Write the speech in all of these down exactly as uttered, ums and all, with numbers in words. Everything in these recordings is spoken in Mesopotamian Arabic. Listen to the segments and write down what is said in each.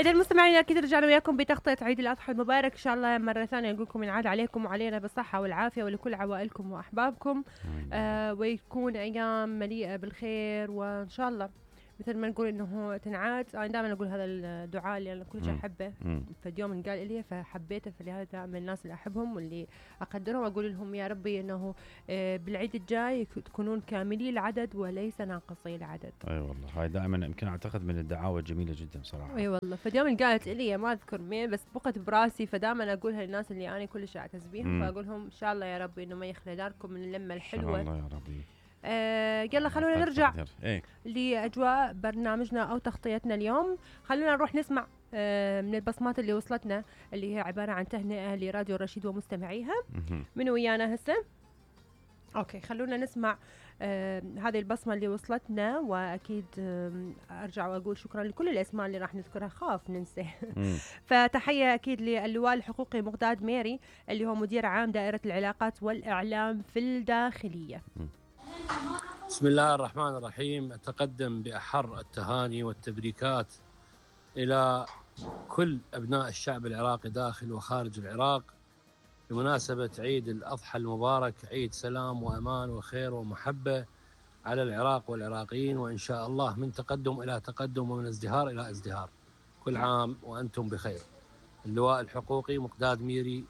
إذا المستمعين أكيد رجعنا وياكم بتغطية عيد الأضحى المبارك إن شاء الله مرة ثانية نقول لكم ينعاد عليكم وعلينا بالصحة والعافية ولكل عوائلكم وأحبابكم آه ويكون أيام مليئة بالخير وإن شاء الله مثل ما نقول إنه تنعاد. أنا دائما أقول هذا الدعاء اللي أنا كل شيء أحبه في يوم قال إلي فحبيته، فلهذا من الناس اللي أحبهم واللي أقدرهم أقول لهم يا ربي إنه آه بالعيد الجاي تكونون كاملي العدد وليس ناقصي العدد. أي أيوة والله هاي دائما يمكن أعتقد من الدعاوى الجميلة جدا صراحة. أي أيوة والله. فاليوم قالت إلي ما أذكر مين بس بقت براسي، فدائما أقولها للناس اللي أنا كل شيء أعتز بيهم فأقولهم إن شاء الله يا ربي إنه ما يخلي داركم من اللمة الحلوة إن شاء الله يا ربي. آه يلا خلونا نرجع إيه؟ لأجواء برنامجنا أو تغطيتنا اليوم. خلونا نروح نسمع آه من البصمات اللي وصلتنا اللي هي عبارة عن تهنئة لراديو الرشيد ومستمعيها. من ويانا هسه؟ أوكي خلونا نسمع آه هذه البصمة اللي وصلتنا، وأكيد آه أرجع وأقول شكرا لكل الأسماء اللي راح نذكرها خاف ننسى. فتحية أكيد للواء الحقوقي مقداد ميري اللي هو مدير عام دائرة العلاقات والإعلام في الداخلية. بسم الله الرحمن الرحيم. أتقدم بأحر التهاني والتبريكات إلى كل أبناء الشعب العراقي داخل وخارج العراق بمناسبة عيد الأضحى المبارك، عيد سلام وأمان وخير ومحبة على العراق والعراقيين، وإن شاء الله من تقدم إلى تقدم ومن ازدهار إلى ازدهار. كل عام وأنتم بخير. اللواء الحقوقي مقداد ميري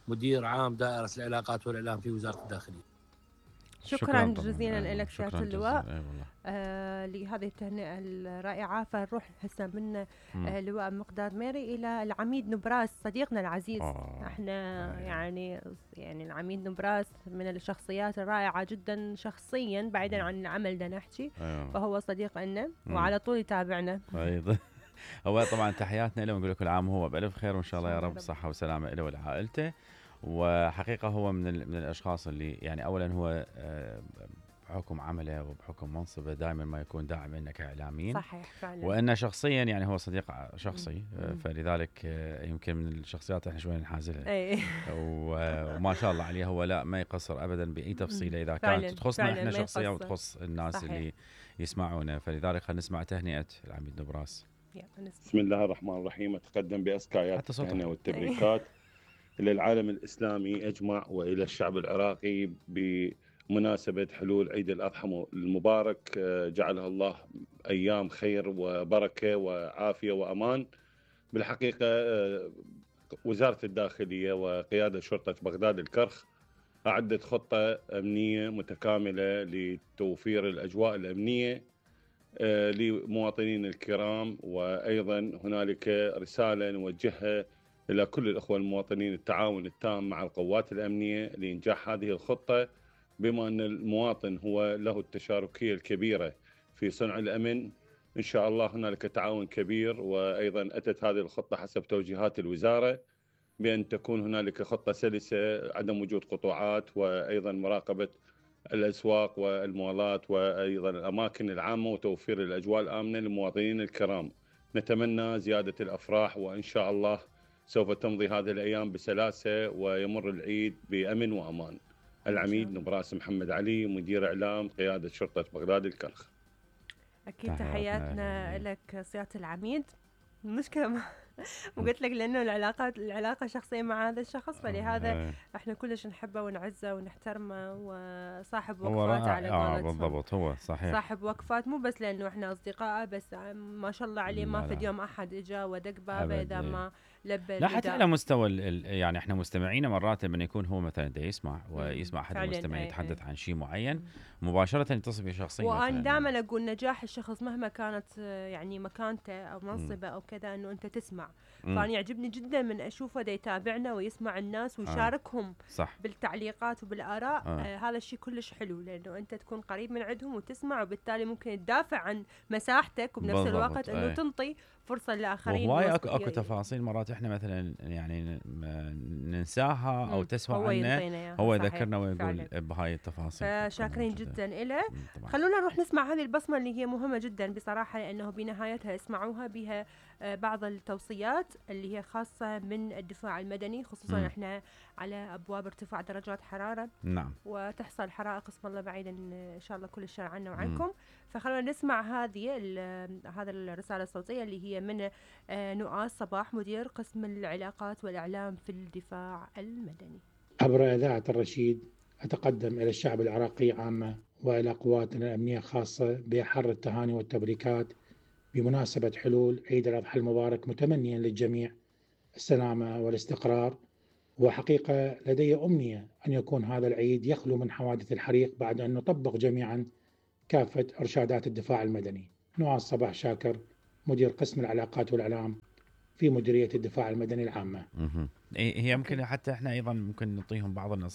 مدير عام دائرة العلاقات والإعلام في وزارة الداخلية. شكرا, شكرا جزيلا لك سيادة اللواء آه لهذه التهنئة الرائعة. فنروح هسه من آه لواء مقداد ميري إلى العميد نبراس صديقنا العزيز. آه احنا آه يعني يعني العميد نبراس من الشخصيات الرائعة جدا شخصيا بعيدا عن العمل ده نحكي آه فهو صديق لنا وعلى طول يتابعنا أيضا. هو طبعا تحياتنا له ونقول له كل عام وهو بألف خير وإن شاء الله يا رب صحة وسلامة له ولعائلته. وحقيقة هو من من الأشخاص اللي يعني أولا هو بحكم عمله وبحكم منصبه دائما ما يكون داعم لنا كإعلاميين. صحيح فعلا. وأنه شخصيا يعني هو صديق شخصي مم. فلذلك يمكن من الشخصيات احنا شوي نحازلها. وما شاء الله عليه هو لا ما يقصر أبدا بأي تفصيلة إذا كانت تخصنا احنا شخصيا وتخص الناس صحيح. اللي يسمعونا. فلذلك خلينا نسمع تهنئة العميد نبراس. بسم الله الرحمن الرحيم. أتقدم بأزكايات التهنئة والتبريكات إلى العالم الإسلامي أجمع وإلى الشعب العراقي بمناسبة حلول عيد الأضحى المبارك، جعلها الله أيام خير وبركة وعافية وأمان. بالحقيقة وزارة الداخلية وقيادة شرطة بغداد الكرخ أعدت خطة أمنية متكاملة لتوفير الأجواء الأمنية لمواطنين الكرام. وأيضا هنالك رسالة نوجهها إلى كل الأخوة المواطنين التعاون التام مع القوات الأمنية لإنجاح هذه الخطة، بما أن المواطن هو له التشاركية الكبيرة في صنع الأمن. إن شاء الله هنالك تعاون كبير. وأيضا أتت هذه الخطة حسب توجيهات الوزارة بأن تكون هنالك خطة سلسة، عدم وجود قطوعات، وأيضا مراقبة الأسواق والمولات وأيضا الأماكن العامة وتوفير الأجواء الآمنة للمواطنين الكرام. نتمنى زيادة الأفراح وإن شاء الله سوف تمضي هذه الأيام بسلاسة ويمر العيد بأمن وأمان. العميد نبراس محمد علي مدير إعلام قيادة شرطة بغداد الكرخ. أكيد تحياتنا لك سيادة العميد. المشكلة ما وقلت لك لأنه العلاقات العلاقة شخصية مع هذا الشخص، فلهذا احنا كلش نحبه ونعزه ونحترمه وصاحب وقفات على قولتهم. بالضبط هو صحيح صاحب وقفات، مو بس لأنه احنا أصدقاء بس ما شاء الله عليه ما في يوم أحد إجا ودق بابه إذا ما لبى. لا حتى على مستوى يعني احنا مستمعين مرات لما يكون هو مثلا دا يسمع ويسمع أحد المستمعين يتحدث عن شيء معين مباشرة يتصل بشخصيا. وأنا دائما أقول نجاح الشخص مهما كانت يعني مكانته أو منصبه أو كذا إنه أنت تسمع. فأنا يعجبني جدا من أشوفه دا يتابعنا ويسمع الناس ويشاركهم آه. بالتعليقات وبالآراء. آه. آه هذا الشيء كلش حلو لأنه أنت تكون قريب من عندهم وتسمع، وبالتالي ممكن تدافع عن مساحتك وبنفس الوقت إنه تنطي فرصة للآخرين. وهواي أكو, أكو تفاصيل مرات إحنا مثلا يعني ننساها أو تسوى عنا، هو يذكرنا ويقول بهاي التفاصيل. فشاكرين جدا, جداً إله. خلونا نروح نسمع هذه البصمة اللي هي مهمة جدا بصراحة، لأنه بنهايتها اسمعوها بها بعض التوصيات الشخصيات اللي هي خاصة من الدفاع المدني، خصوصا م. احنا على ابواب ارتفاع درجات حرارة. نعم. وتحصل حرائق اسم الله بعيدا ان شاء الله كل الشر عنا وعنكم. م. فخلونا نسمع هذه هذا الرسالة الصوتية اللي هي من نؤاس صباح، مدير قسم العلاقات والاعلام في الدفاع المدني. عبر اذاعة الرشيد اتقدم الى الشعب العراقي عامة والى قواتنا الامنية خاصة باحر التهاني والتبريكات بمناسبة حلول عيد الأضحى المبارك، متمنيا للجميع السلامة والاستقرار. وحقيقة لدي أمنية أن يكون هذا العيد يخلو من حوادث الحريق بعد أن نطبق جميعا كافة إرشادات الدفاع المدني. نواس صباح شاكر، مدير قسم العلاقات والإعلام في مديرية الدفاع المدني العامة. هي ممكن حتى احنا أيضا ممكن نعطيهم بعض النصائح